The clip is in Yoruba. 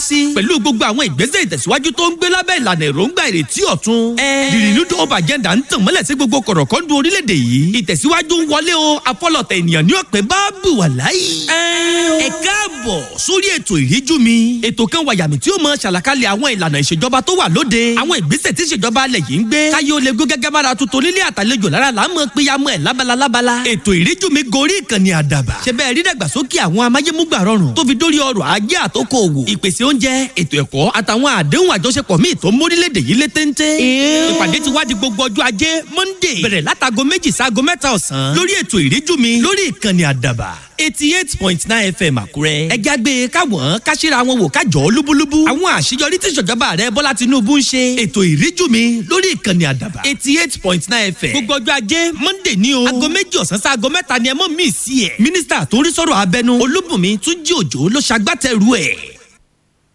Sí. Pẹ̀lú gbogbo àwọn ìgbésẹ̀ ìtẹ̀síwájú tó ń gbé lábẹ́ ìlànà èròǹgbà ìrètí ọ̀tun. The Renewed Hope Agenda ń tàn mọ́lẹ̀ sí gbogbo kọ̀rọ̀kọ́ndù orílẹ̀-èdè yìí. Ìtẹ̀síwájú ń wọlé o, afọlọ̀tẹ̀ ènìyàn ní ọ̀pẹ bá bù wà láyé. Ẹ káàbọ̀ sórí ètò Ìríjú Mi. Ètò kan wàyàmì tí ó mọ ṣàlàkalẹ̀ àwọn ìlànà ìṣèjọba tó wà lóde. Àwọn ìgbésẹ̀ tí ìṣèjọba alẹ̀ yìí ń gbé. Káyé ó lè gún gẹ́gẹ́ bára tuntun nílé àtàlejò lára là ń mọ péyàmọ́ ẹ̀ lábala lábala. Ètò Ìríjú Mi gorí ìkànnì Àdàbà. Ṣé bẹ́ẹ̀ rí dàgbàsókè àwọn amáyémúgbà rọrùn tó fi dórí ọrọ̀ ajé àtòkò òwò. Ìpèsè oúnjẹ, ètò ẹ̀kọ́ àtàwọn àdéhùn àjọṣepọ̀ míì tó ń mórílẹ̀-èdè yìí lé téńté. Ìpàdé ti wá di gbogbo ọjọ́ Ajé Monday. Bẹ̀rẹ̀ látago 2 sáago 3 ọ̀sán. Lórí ètò Ìríjú Mi lórí ìkànnì Àdàbà 88.9 FM Àkúrẹ́. Ẹ jágbe káwọn káṣíra wọn wò kájọ lúbúlúbú. Àwọn àṣeyọrí tí ìṣèjọba rẹ Bọ́lá Tinubu ń ṣe. Ètò Ìríjú Mi lórí ìkànnì Àdàbà 88.9 FM. Gbogbo ọjọ́ Ajé Monday ní o. Aago 2 ọ̀sán sáago 3 ni ẹ mọ̀ mí sí ẹ̀. Mínísítà tó ń rí sọ̀rọ̀ abẹnú Olúbùnmi Túnjí Òjó ló ṣagbátẹrù ẹ̀.